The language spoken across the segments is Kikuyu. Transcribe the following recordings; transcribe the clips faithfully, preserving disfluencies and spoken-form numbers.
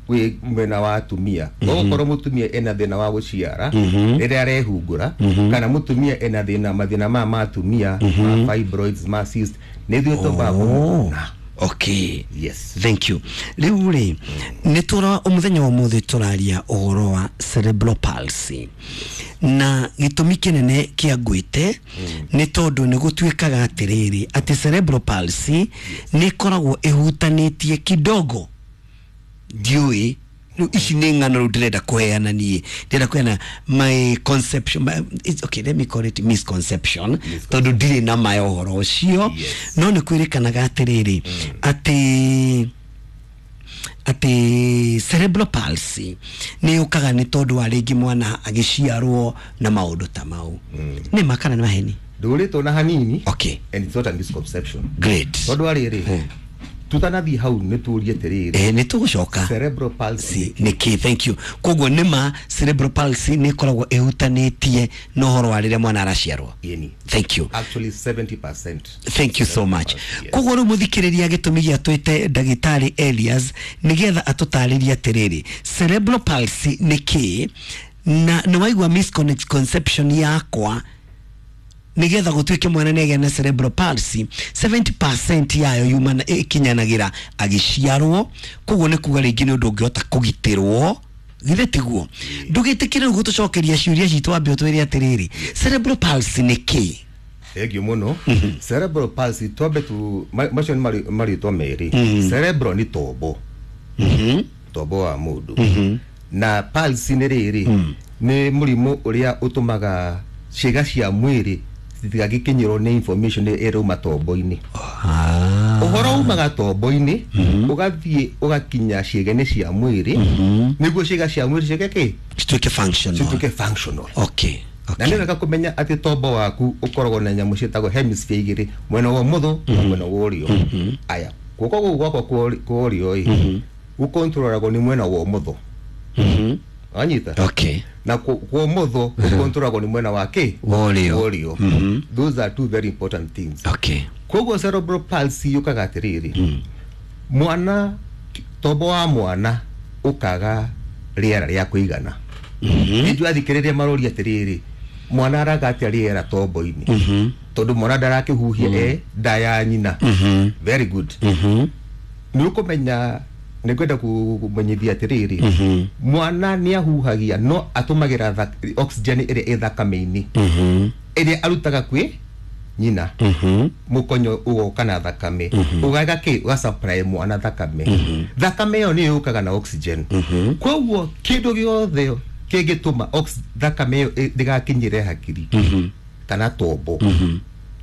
Wĩ mwena wa atumia, okorwo mũtumia ena thĩna wa gũciara rĩrĩa arehungũra, kana mũtumia ena thĩna mathĩna maya ma atumia, ma fibroids, ma cyst, nĩ ithuĩ twambaga kũmũona. Okay. Yes. Thank you. Rĩu rĩ, nĩ tũra mũthenya wa ũmũthĩ tũraria ũhoro wa cerebral palsy, na gĩtũmi kĩnene kĩa ngwĩte nĩ tondũ nĩ gũtuĩkaga atĩrĩrĩ, atĩ cerebral palsy nĩ ĩkoragwo ĩhutanĩtie kidogo. Ndiũĩ rĩu ici nĩ ng'ano rĩu ndĩrenda kũheana, niĩ ndĩrenda kũheana my conception, my, it's okay, let me call it misconception, tondũ ndirĩ na ma ya ũhoro ũcio. Yes. No nĩ kwĩrĩkanaga atĩrĩrĩ, atĩ atĩ cerebral palsy nĩ yũkaga nĩ tondũ wa rĩngĩ mwana agĩciarwo na maũndũ ta mau. Nĩ ma kana nĩ maheni? Ndũrĩtwo na hanini. Okay. And it's not a misconception. Great. Tondũ wa rĩrĩ, tutanathiĩ hau, nĩ tũrie atĩrĩrĩ, eh, nĩ tũgũcoka. Cerebral palsy. Nĩ kĩ? Thank you. Koguo nĩ ma cerebral palsy nĩ ĩkoragwo ĩhutanĩtie na ũhoro wa rĩrĩa mwana araciarwo? Ĩni. Thank you. Actually seventy percent. Thank you so much. Yes. Koguo rĩu mũthikĩrĩria, gĩtũmi gĩa twĩte ndagĩtarĩ Elias nĩgetha atũtarĩrie atĩrĩrĩ, cerebral palsy nĩ kĩ, na nĩ waigua misconception yakwa, nigetha gũtuĩke mwana nĩ agĩa na cerebral palsy, seventy percent yayo yumana ĩkinyanagĩra agĩciarwo. Koguo nĩ kuga rĩngĩ nĩ ũndũ ũngĩhota kũgitĩrwo, githĩ tiguo? Ndũgĩtĩkĩre rĩu gũtũcokeria ciũria citũ, wambe ũtwĩre atĩrĩrĩ, cerebral palsy nĩ kĩ? Thank you mũno. Cerebral palsy, twambe tu ma- macio nĩ marĩ- marĩtwa merĩ. Cerebral nĩ tombo, tombo wa mũndũ, na palsy nĩ rĩrĩ, nĩ mũrimũ ũrĩa ũtũmaga ciĩga cia mwĩrĩ citigagĩkinyĩrwo nĩ information ĩrauma tombo-inĩ. Ũhoro umaga tombo-inĩ, ũgathiĩ ũgakinya ciĩga-inĩ cia mwĩrĩ, nĩguo ciĩga cia mwĩrĩ ciĩke kĩ? Cituĩke functional. Cituĩke functional. Okay na okay nĩ wega kũmenya atĩ tombo waku ũkoragwo na nyamũ ciĩtagwo hemisphere igĩrĩ, mwena wa ũmotho na mwena wa ũrĩo. Aya, guoko gũkũ gwakwa kwa ũrĩ- kwa ũrĩo ĩ gũkontrolagwo nĩ mwena wa ũmotho, wanyita? Okay. Na kwa kwa ũmotho gũkontrolagwo nĩ mwena wa kĩ? Wa ũrĩo. Wa ũrĩo. Those are two very important things. Okay koguo cerebral palsy yũkaga atĩrĩrĩ, mwana, tombo wa mwana ũkaga rĩera rĩa kũigana. Nĩnjũĩ athikĩrĩria maroria atĩrĩrĩ, mwana araga atĩa rĩera tombo-inĩ, tondũ mwana ndarakĩhuhia e nda ya nyina? Very good. Nĩ ũkũmenya, nĩ ngwenda kũmenyithia atĩrĩrĩ, mwana nĩ ahuhagia, no atũmagĩra thak- oxygen ĩrĩa ĩ thakame-inĩ, ĩrĩa arutaga kwĩ nyina. Mũkonyo ũgoka na thakame, ũgaga kĩ, ũgasupply mwana thakame. Thakame ĩyo nĩyo yũkaga na oxygen. Koguo kĩndũ gĩothe kĩngĩtũma ox- thakame ĩyo ĩ- ndĩgakinyĩre hakiri kana tombo,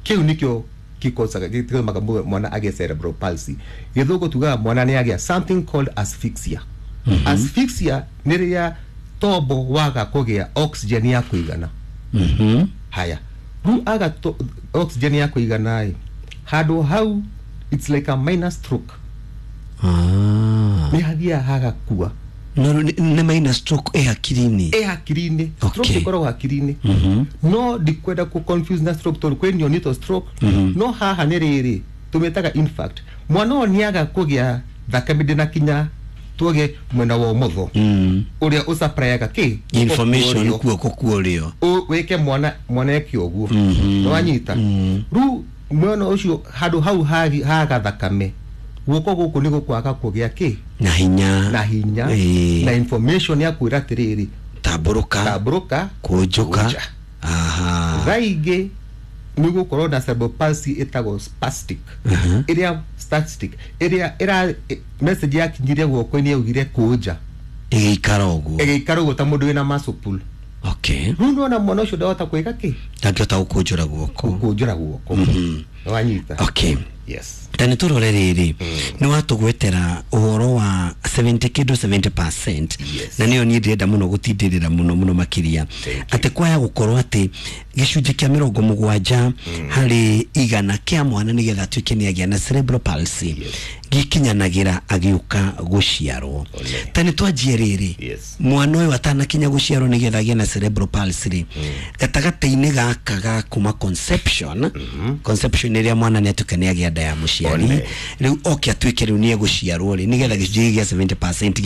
kĩu nĩkĩo gĩkosaga, gĩtũmaga mũ- mwana agĩe cerebral palsy. Gĩthũngũ tugaga mwana nĩ agĩa something called asphyxia. Asphyxia nĩ rĩrĩa tombo waga kũgĩa oxygen ya kũigana. Haya, rĩu aga to, oxygen ya kũigana ĩ handũ hau, it's like a minor stroke. Ah. Nĩ hathiaga hagakua. No nĩ nĩ minor stroke ĩ hakiri-inĩ? Ĩ hakiri-inĩ. Stroke Okay. ĩkoragwo hakiri-inĩ, no ndikwenda ku confuse na stroke tondũ kwĩ neonatal stroke. No haha nĩ rĩrĩ tũmĩtaga infarct. Mwana ũyũ nĩaga kũgĩa thakame ndĩnakinya tuoge mwena wa ũmotho ũrĩa ũsupplyga kĩ? Information. Guoko. Kuoko kuorio. Ũ- wĩke mwana mwana eke ũguo, nĩwanyita? Rĩu mwena ũcio, handũ hau hagi- haga thakame, guoko gũkũ nĩ gũkwaga kũgĩa kĩ? Na hinya. Na hinya. Ĩĩ. Na information ya kwĩra atĩrĩrĩ, tambũrũka, tambũrũka, kũnjũka. Kũnja. Aha. Thaa ingĩ nĩ gũkorwo na cerebral palsy ĩtagwo spastic, ĩrĩa spastic ĩrĩa ĩra message yakinyire guoko-inĩ yaugire kũnja, ĩgĩikara ũguo. Ĩgĩikara ũguo ta mũndũ wĩna muscle pull. Okay rĩu nĩwona mwana ũcio ndahota kwĩka kĩ? Ndangĩhota gũkũnjũra guoko. Gũkũnjũra guoko, nĩwanyita? Okay. Yes. Ta nĩ tũrore rĩrĩ, nĩ watũgwetera ũhoro wa seventy kĩndũ seventy percent. Yes. Na nĩyo niĩ ndĩrenda mũno gũtindĩrĩra mũno mũno makĩria, atĩ kwaya gũkorwo atĩ gĩcunjĩ kĩa mĩrongo mũgwanja harĩ igana kĩa mwana, nĩgetha atuĩke nĩ agĩa na cerebral palsy, gĩkinyanagĩra agĩũka gũciarwo. Ta nĩ twanjie rĩrĩ, Yes. mwana ũyũ atanakinya gũciarwo, nĩgetha agĩe na cerebral palsy rĩ, gatagatĩ-inĩ gaka ga kuma conception, conception ĩrĩa mwana nĩ atuĩka nĩ agĩa nda. nda ya mũciari. One. Rĩu oke atuĩke rĩu nĩ egũciarwo rĩ, nĩgetha gĩcunjĩ gĩa seventy percent.